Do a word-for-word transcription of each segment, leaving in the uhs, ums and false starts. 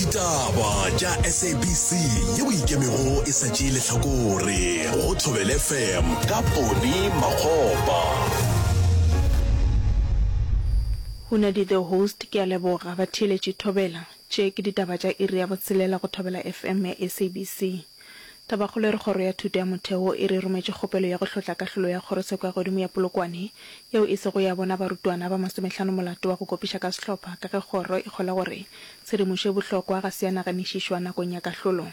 Ditaba tša S A B C yeo ikemego e sa tšee lehlakore go Thobela F M ka Poni Makgopa. Hunadi the host ke a leboga batheeletši Thobela. Tše ke ditaba tša iri ya botshelela go Thobela F M ya S A B C. Tabakgolo e re Kgoro ya Thuto ya Motheo e re rometše kgopelo ya go hlotla kahlolo ya Kgorotsheko ya Godimo ya Polokwane yeo e sego ya bona barutwana ba masomehlano molato wa go kopiša ka sehlopha ka ge kgoro e kgolwa gore tshedimošo e bohlokwa ga se ya naganišišwa nakong ya kahlolo.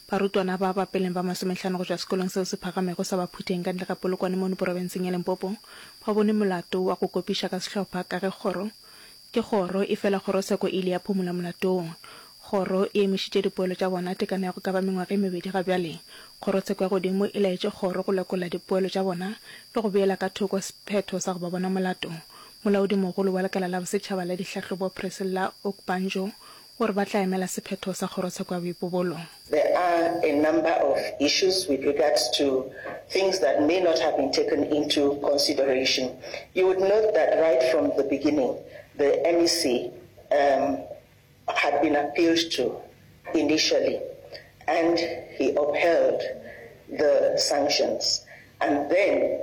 Barutwana ba ba peleng ba masomehlano go tšwa sekolong seo se phagamego sa Baphutheng ka ntle ga Polokwane mono porofenseng ya Limpopo ba bone molato wa go kopiša ka sehlopha ka ge kgoro ke kgoro efela kgorotsheko e ile ya phumola molato wo. Kgoro e emišitše dipoelo tša bona tekano ya go ka ba mengwaga e mebedi ga bjale. Kgorotsheko ya Godimo e laetše kgoro go lekola dipoelo tša bona le go beela ka thoko sephetho sa go ba bona molato. Molaodimogolo wa Lekala la Bosetšhaba la Dihlahlobo Priscilla Okbanjo o re ba tla emela sephetho sa Kgorotsheko ya Boipobolo. There are a number of issues with regards to things that may not have been taken into consideration. You would note that right from the beginning, the M E C um, had been appealed to initially and he upheld the sanctions and then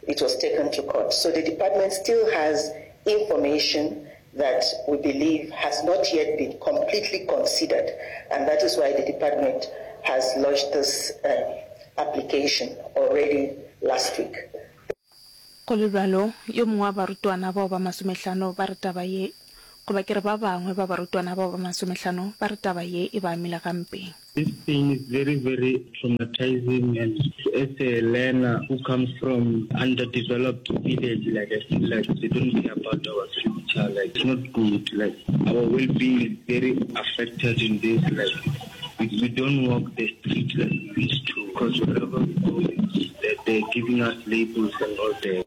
it was taken to court. So the department still has information that we believe has not yet been completely considered, and that is why the department has lodged this uh, application already last week. Go le bjalo, yo mongwe wa barutwana bao ba masomehlano ba re taba ye, goba ke re ba bangwe ba barutwana bao ba masomehlano ba re taba ye e ba amile gampe. This thing is very, very traumatizing, and as a learner who comes from underdeveloped village, like I feel like they don't care about our future. Like it's not good. Like our well-being is very affected in this. Like we, we don't walk the street like we used to because wherever we go, they're, they're giving us labels and all that.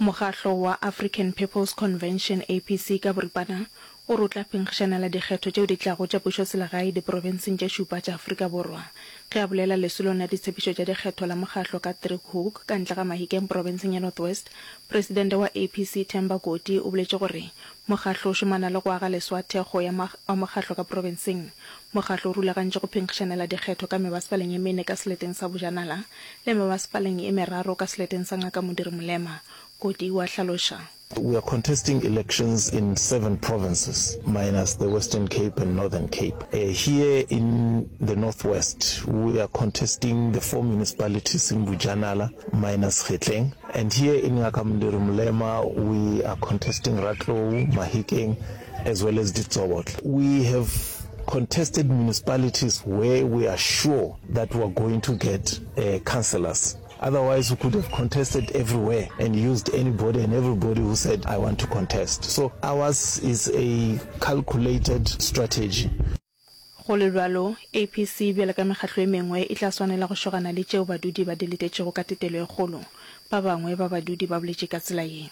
Mokgahlo wa African People's Convention, A P C ka boripana, o re o tla phenkgišanela dikgetho tšeo di tlago tša pušoselegae diprofenseng tše šupa tša Afrika Borwa. Ge a bolela lesolong la ditshepišo tša dikgetho la mokgahlo ka Driehoek ka ntle ga Mahikeng profenseng ya North West, presidente wa A P C Themba Koti o boletše gore mokgahlo o šomana le go aga leswa thekgo ya wa mokgahlo ka profenseng. Mokgahlo o rulagantše go phenkgišanela dikgetho ka mebasepaleng ye mene ka seleteng sa Bojanala le mebasepaleng ye meraro ka seleteng sa Ngaka Modiri Molema. Koti wa hlaloša. We are contesting elections in seven provinces, minus the Western Cape and Northern Cape. Uh, here in the Northwest, we are contesting the four municipalities in Bojanala, minus Kgetleng. And here in Ngaka Modiri Molema, we are contesting Ratlou, Mahikeng, as well as Ditsobotla. We have contested municipalities where we are sure that we are going to get uh, councillors. Otherwise, we could have contested everywhere and used anybody and everybody who said, "I want to contest." So ours is a calculated strategy. Go le bjalo, A P C bjalo ka mekgatlo e mengwe e tla swanela go šogana le tšeo badudi ba di letetšego ka tetelo e kgolo. Ba bangwe ba badudi ba boletše ka tsela ye.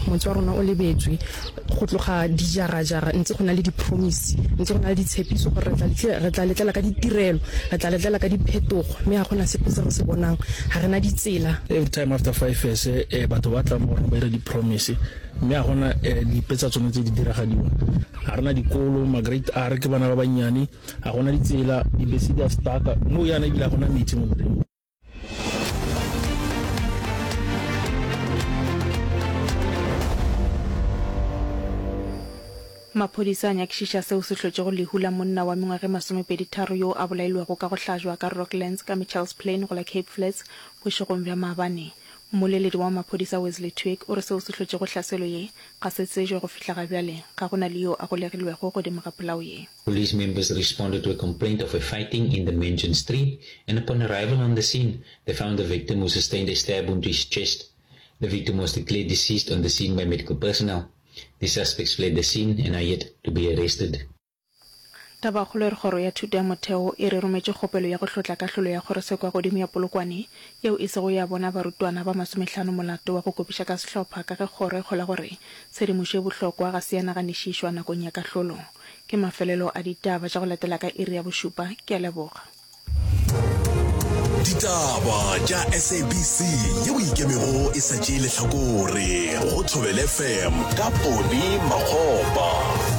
Motse wa rona o lebetswe go tloga dijarajara, ntse go na le di-promise, ntse go na le ditshepiso gore re tla letlela ka ditirelo, re tla letlela ka diphetogo, mme ga gona sepe se re se bonang. Ga re na ditsela. Every time after five years eh, batho ba tla mo rona ba dira di-promise, mme ga gona eh, dipe tsa tsone tse di diragadiwang. Ga rena dikolo, ma-grade R ke bana ba bannyane, ga gona ditsela, dibese di a stucka mo yana, ebile ga gona metsi mo tseleng. Maphodisa a nyakišiša seo se hlotšego lehu la monna wa mengwaga e masomepedi tharo yo a bolailwego ka go hlajwa ka Rocklands ka Mitchells Plain go la Cape Flats bošegong bja maabane. Mmoleledi wa maphodisa Wesley Twigg o re seo se hlotšego hlaselo ye ga se tsejwe go fihla ga bjale. Ga go na le yo a golegilwego godimo ga polao ye. Police members responded to a complaint of a fighting in the mentioned street and upon arrival on the scene, they found the victim who sustained a stab wound to his chest. The victim was declared deceased on the scene by medical personnel. The suspects fled the scene and are yet to be arrested. Tabakgolo e re Kgoro ya Thuto ya Motheo e re rometše kgopelo ya go hlotla kahlolo ya Kgorotsheko ya Godimo ya Polokwane yeo e sego ya bona barutwana ba masomehlano molato wa go kopiša ka sehlopha ka ge kgoro e kgolwa gore tshedimošo e bohlokwa ga se ya naganišišwa nakong ya kahlolo. Ke mafelelo a ditaba tša go latela ka iri ya bošupa. Ke a leboga. Ditaba tša S A B C yeo e ikemego e sa tšee lehlakore go Thobela F M ka Poni Makgopa.